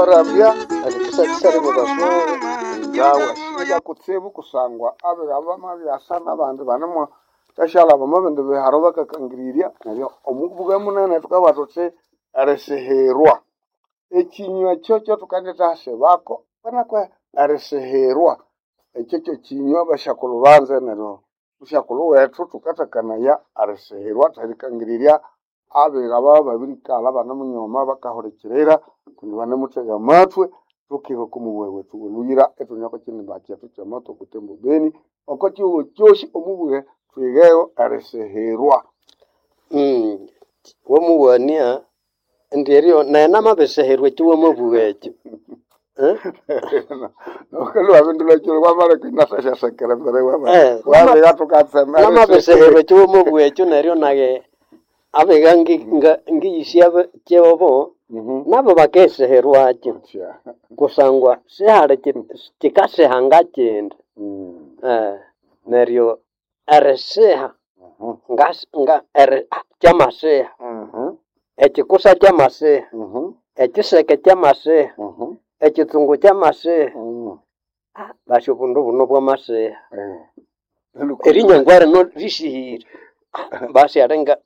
Rambya erikisakisaria mwa basoga ngawa kutsibu kusangwa abiga bamabyasa nabandi banimo tashalaba omubindi biharo bakakangirirya neryo omubuga munene thukabugha thuthi erisihirwa. Ekinywa ekyo kyathukendithasibako kwenekwe erisihirwa ekyo kyekinywa basyakulhu banze neryo musyakulhu wethu thukathakanaya erisihirwa therikangirirya abiga babya babirikalha ibanemunyoma bakahulikirira kundi banemuthega amathwe thukiha oko mubughe wethu woluyira ithune oko kinimba kyethu kyamatwa e Butembo Beni oko kihugho kyosi omubughe thwigheyo erisihirwa. Wamuwania indi eryo nayi namabiriseherwa ekyo wamabugha ekyo. Eh? Nokalhwa wabindulha kiro wamaleka inasasyasekera mbere Eh, wabiga thukatsema namabiriseherwa ekyo wamabugha ekyo neryo nayi abiga ngiyisya kyobo nabo bakeseherwakyo kusangwa sihali kikasiha ngakindi. Neryo erisiha kyamasiha, ekikusa kyamasiha, ekiseke kyamasiha, ekitsungu kyamasiha, basi obundu buno bwamasiha. Erinyangwa rino risihire basi alinga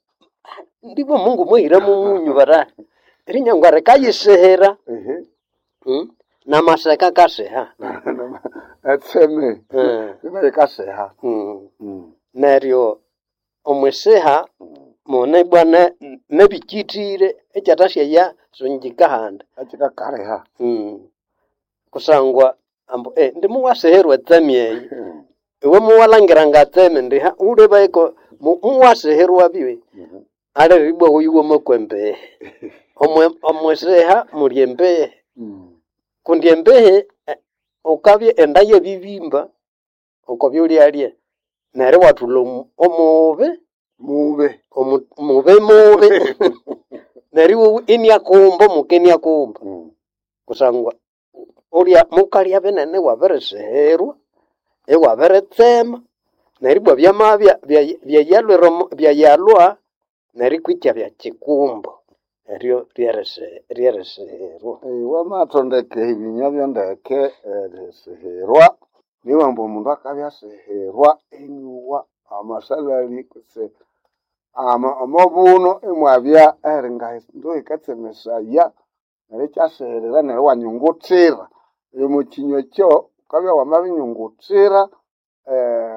ndibwa Mungu mwahira mumunyu barahi erinyangwa rikayisihira namaseka akasiha. Etseme ina yikasiha. Neryo omwisiha mune ibwa nebikithire ekyathasyeya sungika ahandi. Ekikakaliha. Kusangwa ambu indi muwasihirwa etseme eyi iwe muwalhangira ngatseme indi wulebeko muwasihirwa bye alire ibwa oyu wamakwa embehe. Omwisiha muli embehe kundi embehe wukabya enda yabibimba oko byulyalya neryo iwathulha omubi Mubi. Mubi mubi neryo iwowa iniakumba omuka iniakumba kusangwa ulya mukalya binene iwabirisihirwa iwabiritsema neryo ibwa byamabya byayalwire byayalwa neryo ikwitya kyikumbo eryo ryerisihirwa. Wamathondeka ebinywa byondeke erisihirwa niwamba omundu akabya asihirwa inyowa amasalhali kutse omobuno imwabya eringa endo yikatsemesaya neryo ikyasihirira neryo iwanyunguthira. Omo kinywa ekyo wukabya wamabinyunguthira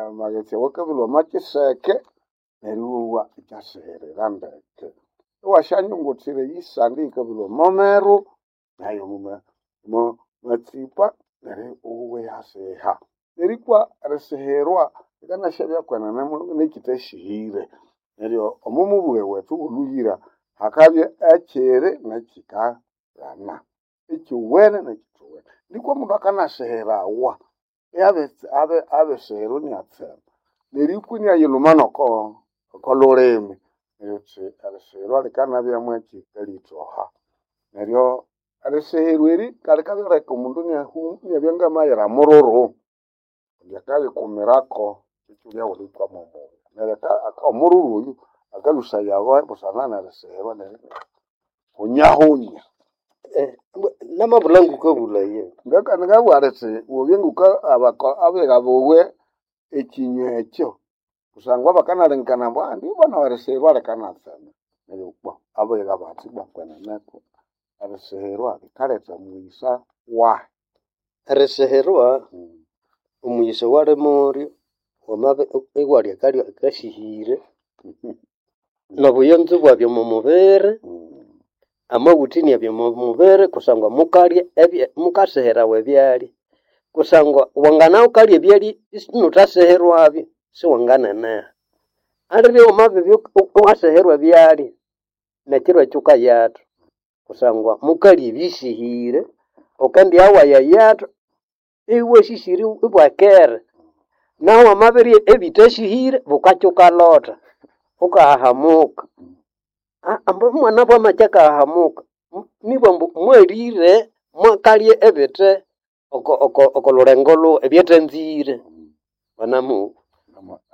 amaghetse awakabilhwa omwa kiseke neryo iwowa ikyasihirira ndeke. Iwasyanyunguthira eyisande eyikabilhwa omo meru nayo omo matsipa neryo iwowa iyasiha. Nerikwa erisihirwa likanasyabya kwenene nekyithasihire. Neryo omo mubughe wethu wolhuyira hakabya ekyiri nekyikaghana, ekyowene nekyithowene. Nikwa omundu akanasihirawa abisihirwa inyatsema nerikwa inayilhuma noko lhulimi neryo thuthi erisihirwa likanabya mwekikalitoha. Neryo erisihirwa eri likaleka omundu inabya ngamayira mururu kundi akayikumirako ekyulya ghulikwama omubi. Neryo omururu oyu akalhusayawa busana nerisihirwa neryo hunyahunya. Namabulha ngukabulhaye. Ngabugha lithi wabya nguka abiga buwe ekinywa ekyo kusangwa bakanalengekana ambu ndibwa nawu erisihirwa likanatsema. Neryo bwa abiga bathi bwa kwenene erisihirwa likaletha omughisa wahi. Erisihirwa omughisa owali mulyo wamabya iwalya akalya akasihire nobuyonzo ibwabya omo mubiri, amawutha inabya omo mubiri kusangwa mukalya mukasihirawa ebyalya kusangwa wangana wukalya ebyalya isinuthasihirwabyo siwanganeneha. Alire wamabibya iwasihirwa ebyalya nekiro ekyo wukayatha kusangwa mukalya ebisihire wukendiyawaya yathu iwasisire ibwakera. Nahu wamabirya ebithasihire bukakya wukalotha wukahahamuka. Ambu omwana bwamakya akahahamuka nibwa ambu mwalire mwakalya ebithe oko lhulengo lhughu ebyathanzire banamuwa.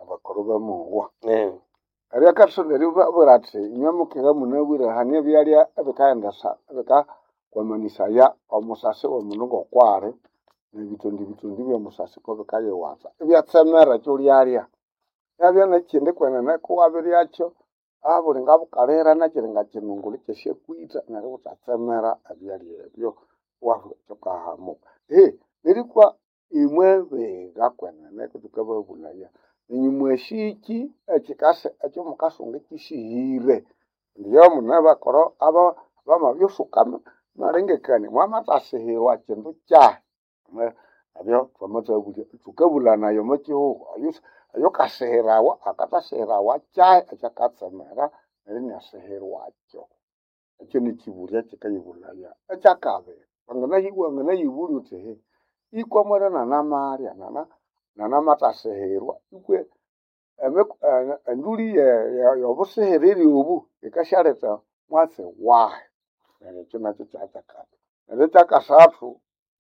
Abakulhu bamowa. Eryo akatholere ibabwira athi inywe mukiga munabwire hane ebyalya ebikaghendesa Kwamanĩsaya omusasi w'omundu ng'okwali n'ebitondi bitondi by'omusasi ko bikayiwasa ibyatsemera ekyolyalya. Yabya n'ekindi kwenene kuwabiryakyo abuli ngabukalira nakyiri ngakyinungulhu ikyasyakwitha neryo iwuthatsemera ebyalya ebyo iwathoka hamuka. Nerikwa imwe biga kwenene kuthukababulaya nenyũ mwasyikyi ekyikasa ekyomukasunga kyisihire. Ndiyo mune bakoro aba bamabyusuka amalengekania mwamathasihirwa kyindu kyahi? Ebyo twamathabulya thukabulanaya omo kyihugho oyukasihirawa akathasihirawa kyahi ekyakatsemera neryo iniasihirwakyo. Ekyo nikyibulyo ekyikayibulaya. Ekyakabiri, wanganayibulya wuthi ehe ikwa mwera nanamalya nanamathasihirwa ikwe enduli y'obusihiriri obu yikasyaletha mwatsi wahi? Neryo ekyo nakyo kyakyakabiri. Neryo ekyakasathu,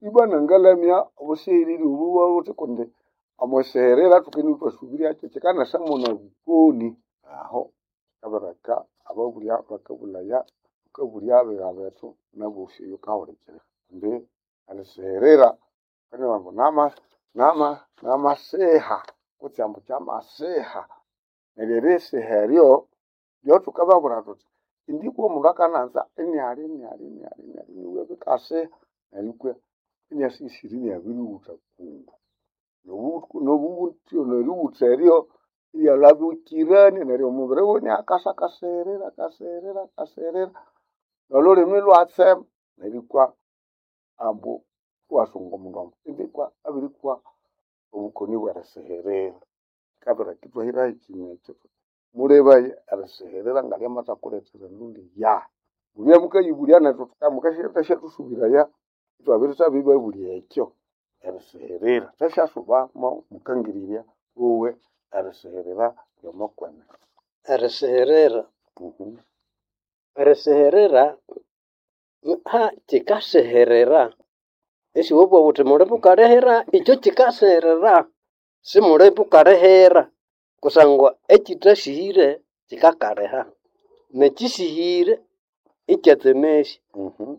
ibwa nangalamya obusihiriri obu bwabuthi kundi omwisihirira thukendibya ithwasũbĩryakyo kyikanasamo nobukoni aho kikabirireka ababulya bakabulaya thukabulya abiga bethu nabosi oyukahulikirira kundi erisihirira ambu namasiha kutse ambu kyamasiha. Neryo erisiha eryo lyothukababwira thuthi indi kwomundu akananza inialya inialya inialya inialya iniwa bikasiha neryo ikwa iniasisira iniabirighutha kundu. Nerighutha eryo iryalhabikirania neryo omubiri wuwe iniakasa akasihirira akasihirira akasihirira nolhulimi ilwatsema neryo ikwa ambu iwasunga omundu ambu indi ikwa abirikwa obukoni bw'erisihirira. Kikabireka ithwahiraho ekinywa ekyo thuthi mulebaye erisihirira ngalyamathakulethera enduli yahi. Mubye mukayibulya nethu mukasyathusubiraya ithwabirithabibabulya ekyo erisihirira. Thwasyasubamo mukangirirya wuwe erisihirira ly'omo kwenene. Erisihirira Erisihirira kyikasihirira isiwabugha wuthi muli bukalihira ikyo kyikasihirira simuli bukalihira kusangwa ekyithasihire kyikakaliha nekyisihire ikyatsemesya.